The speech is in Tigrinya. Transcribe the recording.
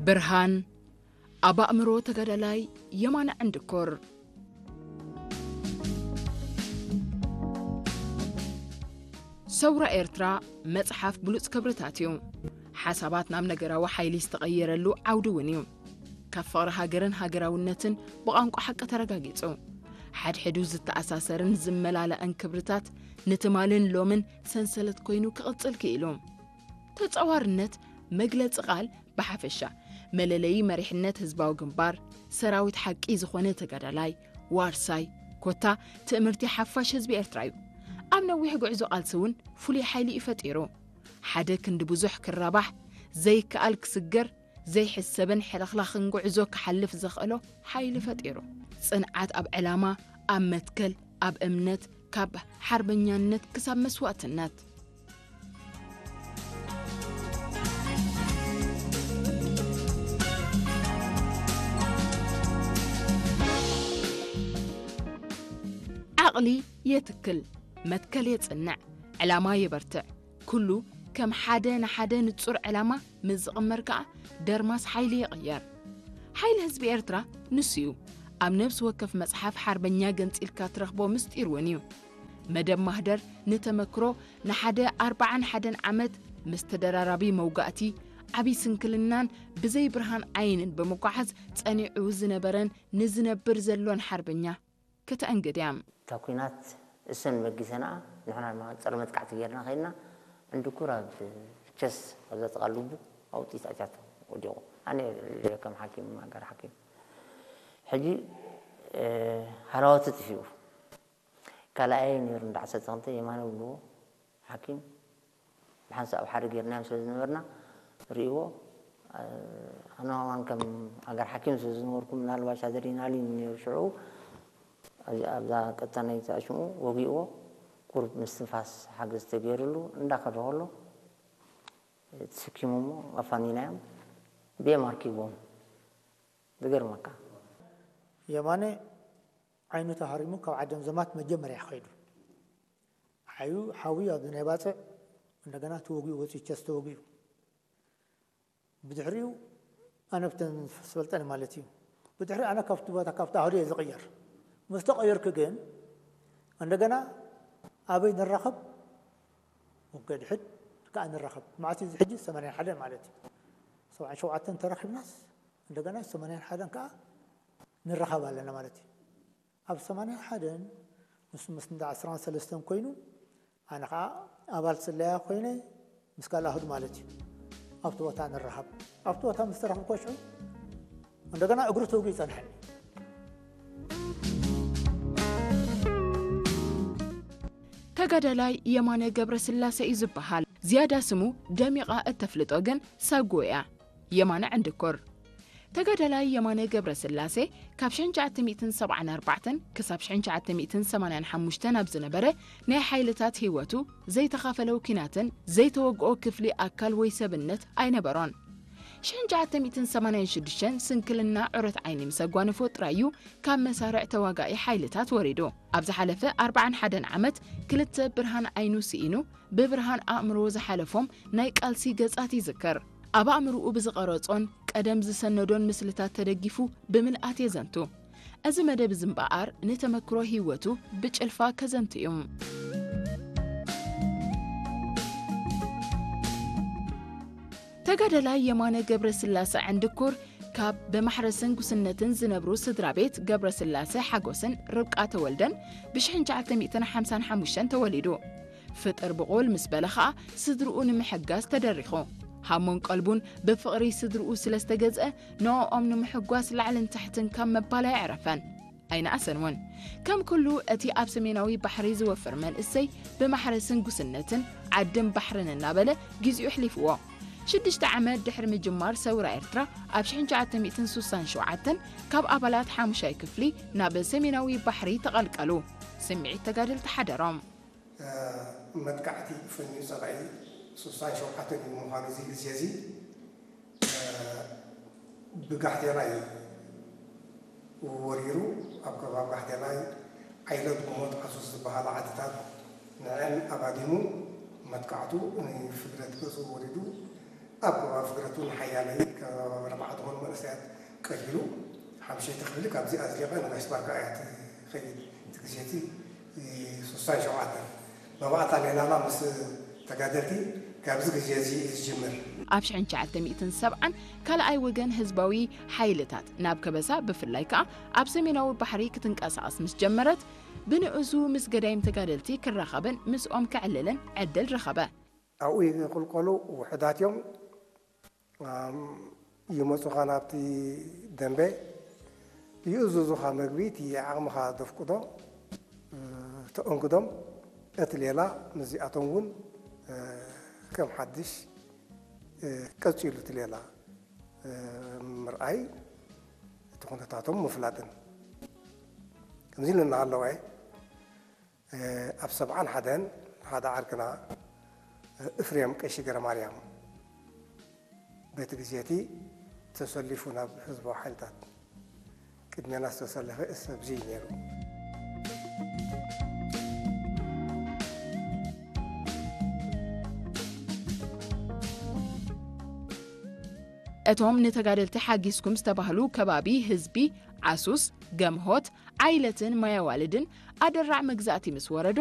ብርሃን ኣብ ኣእምሮ ተጋዳላይ የማነ ዕንድኮር። ሰውራ ኤርትራ መጽሓፍ ብሉጽ ክብርታት እዩ። ሓሳባት ናብ ነገራዊ ሓይሊ ዝተቐየረሉ ዓውዲ እውን እዩ። ካብ ፍቕሪ ሃገርን ሃገራውነትን ብቋንቋ ሓቂ ተረጋጊጹ። ሓድሕዱ ዝተኣሳሰርን ዝመላለእን ክብርታት ንትማልን ሎምን ሰንሰለት ኮይኑ ክቕጽል ክኢሉ። ተጻዋርነት መግለጺ ቃል ብሓፈሻ መለለዪ መሪሕነት ህዝባዊ ግንባር፣ ሰራዊት ሓቂ ዝኾነ ተጋዳላይ፣ ዋርሳይ፣ ኮታ ትእምርቲ ሓፋሽ ህዝቢ ኤርትራ እዩ። ኣብ ነዊሕ ጉዕዞ ቃልሲ እውን ፍሉይ ሓይሊ እዩ ፈጢሩ። ሓደ ክንዲ ብዙሕ ክራባሕ፣ ዘይከኣል ክስገር፣ ዘይሕሰብን ሕልኽላኽን ጉዕዞ ክሓልፍ ዘኽእሎ ሓይሊ ፈጢሩ። ጽንዓት ኣብ ዕላማ፣ ኣብ መትከል፣ ኣብ እምነት፣ ካብ ሓርበኛነት ክሳብ መስዋእትነት። ዓቕሊ የትክል፣ መትከል የጽንዕ፣ ዕላማ የበርትዕ። ኩሉ ከም ሓደ ንሓደ ንጹር ዕላማ ምስ ዝቕመር ከኣ ደርማስ ሓይሊ ይቕየር። ሓይሊ ህዝቢ ኤርትራ ንሱ እዩ። ኣብ ነፍሲ ወከፍ መጽሓፍ ሓርበኛ ገንጺልካ ትረኽቦ ምስጢር እውን እዩ። መደብ ማህደር ንተመክሮ ንሓደ ኣርብዓን ሓደን ዓመት ምስ ተደራራቢ መውጋእቲ፣ ዓቢ ስንክልናን ብዘይ ብርሃን ዓይንን ብምጓዓዝ ጸኒዑ ዝነበረን ንዝነብር ዘሎን ሓርበኛ ከተኣንግድ እያ። እታ ኲናት እሰን በጊሰንኣ ንሕና ድማ ጸረ መጥቃዕቲ ጌርና ኸይድና፣ ዕንድኩር ኣብ ቸስ ኣብዛ ጥቓ ልቡ ኣውጢት ኣትያቶ ወዲቑ። ኣነ ከም ሓኪም፣ ኣጋር ሓኪም። ሕጂ፣ እ፣ ሃላዋቱ ጥፊኡ። ካልኣይ ነይሩ እንዳ ዓሰርተ ክልተ የማነ ብልዎ ሓኪም ብሓንሳእ ኣብ ሓደ ጌርናዮም ስለ ዝነበርና ርእይዎ፣ እ፣ ኣነ ከማን ከም ኣጋር ሓኪም ስለ ዝነበርኩ ምናልባሽ ኣድሬናሊን ነይሩ ሽዑ። ኣብዚ፣ ኣብዛ ቀጣናይ ዝኣሽሙ ወጊእዎ፣ ቁሩብ ምስትንፋስ ሓገዝ ተገይሩሉ እንዳኸደ ከሎ ተሰኪሞሞ ኣፋኒናዮም ብኤም ኣርኪቦም። ዝገርመካ የማነ ዓይኑ ተሃሪሙ ካብ ዓደም ዘማት መጀመርያ ከይዱ። ሓዩ ሓዊ ኣብ ናይ ባጽዕ እንደገና ተወጊኡ ወፂኡ ቸስ ተወጊኡ። ብድሕሪኡ ኣነ ብተን ዝፈልጠን ማለት እዩ። ብድሕሪ ኣነ ካብቲ ቦታ ካብቲ ኣህዱ እየ ዝቕየር። ምስ ተቐየርኩ ግን እንደገና ኣበይ ንራኸብ? ወገድሕድ ከኣ ንራኸብ። መዓት እዩ እዚ ሕጂ ሰማንያን ሓደን ማለት እዩ። ሰብዓን ሸውዓተን ተራኺብናስ እንደገና ሰማንያን ሓደን ከኣ ንራኸብ ኣለና ማለት እዩ። ኣብ ሰማንያን ሓደን ንሱ ምስ እንዳ ዕስራን ሰለስተን ኮይኑ ኣነ ኸዓ ኣባል ስለያ ኮይነ ምስ ካልእ ኣህዱ ማለት እዩ ኣብቲ ቦታ ንራኸብ። ኣብቲ ቦታ ምስ ተረኽብኩ ሽዑ እንደገና እግሩ ተወጊኡ ይጸንሐኒ። ተጋዳላይ የማነ ገብረስላሴ እዩ ዝበሃል። ዝያዳ ስሙ ደሚቓ እተፍልጦ ግን ሳጎ እያ። የማነ ዕንድኮር። ተጋዳላይ የማነ ገብረስላሴ ካብ ሽሕን ትሽዓተ ሚእትን ሰብዓን ኣርባዕተን ክሳብ ሽሕን ትሽዓተ ሚእትን ሰማንያን ሓሙሽተን ኣብ ዝነበረ ናይ ሓይልታት ህይወቱ ዘይተኻፈለው ኲናትን ዘይተወግኦ ክፍሊ ኣካል ወይ ሰብነት ኣይነበሮን። ሽሕን ትሽዓተ ሚእትን ሰማንያን ሽዱሽተን ስንክልና ዑረት ዓይኒ ምስ ኣጓነፎ ጥራይ እዩ ካብ መሳርዕ ተዋጋኢ ሓይልታት ወሪዱ። ኣብ ዝሓለፈ ኣርብዓን ሓደን ዓመት ክልተ ብርሃን ዓይኑ ስኢኑ ብብርሃን ኣእምሮ ዝሓለፎም ናይ ቃልሲ ገጻት ይዝክር። ኣብ ኣእምሮኡ ብዝቐረጾን ቀደም ዝሰነዶን ምስልታት ተደጊፉ ብምልኣት የዘንቱ። እዚ መደብ እዚ እምበኣር ንተመክሮ ህይወቱ ብጭልፋ ከዘንቱ እዩ። ተጋዳላይ የማነ ገብረስላሰ ዕንድኩር ካብ ብማሕረስን ጉስነትን ዝነብሩ ስድራ ቤት ገብረስላሰ ሓጎስን ርብቃ ተወልደን ብሽሕን ትሽዓተ ሚእትን ሓምሳን ሓሙሽተን ተወሊዱ። ፍጥር ብቑል ምስ በለ ኸኣ ስድርኡ ንምሕጋዝ ተደሪኹ። ሃሞን ቀልቡን ብፍቕሪ ስድርኡ ስለ ዝተገዝአ ንዕኦም ንምሕጓስ ላዕልን ታሕትን ካብ ምባል ኣየዕረፈን። ኣይነኣሰን እውን። ከም ኩሉ እቲ ኣብ ሰሜናዊ ባሕሪ ዝወፍር መንእሰይ ብማሕረስን ጉስነትን ዓድን ባሕርን እናበለ ግዚኡ ኣሕሊፍዎ። ሽዱሽተ ዓመት ድሕሪ ምጅማር ሰውራ ኤርትራ ኣብ ሽሕን ትሽዓተ ሚእትን ስሳን ሸውዓተን ካብ ኣባላት ሓሙሻይ ክፍሊ ናብ ሰሜናዊ ባሕሪ ተቐልቀሉ። ስምዒት ተጋደልቲ ሓደሮም። መጥቃዕቲ ፈንዩ ጸላኢ ስሳን ሸውዓተን እዩ ምዃኑ እዚ ግዜ እዚ ብጋሕቴላይ ወሪሩ ኣብ ከባቢ ጋሕቴላይ ዓይለት ጉሞት ዓሱስ ዝበሃላ ዓድታት ንዐን ኣባዲሙ መጥቃዕቱ ንፍግረት ገጹ ወሪዱ ኣብ ኣፍግረት እውን ሓያለይ ካብ ኣርባዕተ ዝኾኑ መንእሰያት ቀይሩ ሓምሸይቲ ክፍሊ ካብዚ ኣዝሊቐ ንጋሽ ባርካ እያ ትኸይድ። እቲ ግዜ እቲ ሱሳን ሸውዓተን መባእታ ሌላና ምስ ተጋደልቲ ካብዚ ግዜ እዚ እዩ ዝጅምር። ኣብ ሽሕን ትሽዓተ ሚእትን ሰብዓን ካልኣይ ወገን ህዝባዊ ሓይልታት ናብ ከበሳ ብፍላይ ከኣ ኣብ ሰሜናዊ ባሕሪ ክትንቀሳቐስ ምስ ጀመረት ብንእዙ ምስ ገዳይም ተጋደልቲ ክራኸብን ምስኦም ክዕልልን ዕድል ረኸበ። ኣብኡ ይቕልቀሉ ውሑዳት እዮም። ኣም፣ ይመጹኻ ናብቲ ደንበ፣ ይእዝዙኻ መግቢ፣ እቲ ዓቕምኻ ዘፍቅዶ፣ እ፣ ተእንግዶም። እቲ ሌላ ምስዚኣቶም እውን፣ እ፣ ከም ሓድሽ፣ እ፣ ቀጺሉ እቲ ሌላ፣ እ፣ ምርኣይ፣ እቲ ኩነታቶም ምፍላጥን። ከምዚ ኢሉ እናሃለወ፣ እ፣ ኣብ ሰብዓን ሓደን ሓደ ዓርክና፣ እ፣ እፍሬም ቀሺ ገረማርያም በቲ ግዜ እቲ ተሰሊፉ ናብ ህዝባዊ ሓይልታት ቅድሜና ዝተሰለፈ ሰብ እዚ እዩ ነይሩ። እቶም ንተጋደልቲ ሓጊዝኩም ዝተባህሉ ከባቢ ህዝቢ ዓሱስ፣ ገምሆት፣ ዓይለትን ማያዋልድን ኣደራዕ መግዛእቲ ምስ ወረዶ፣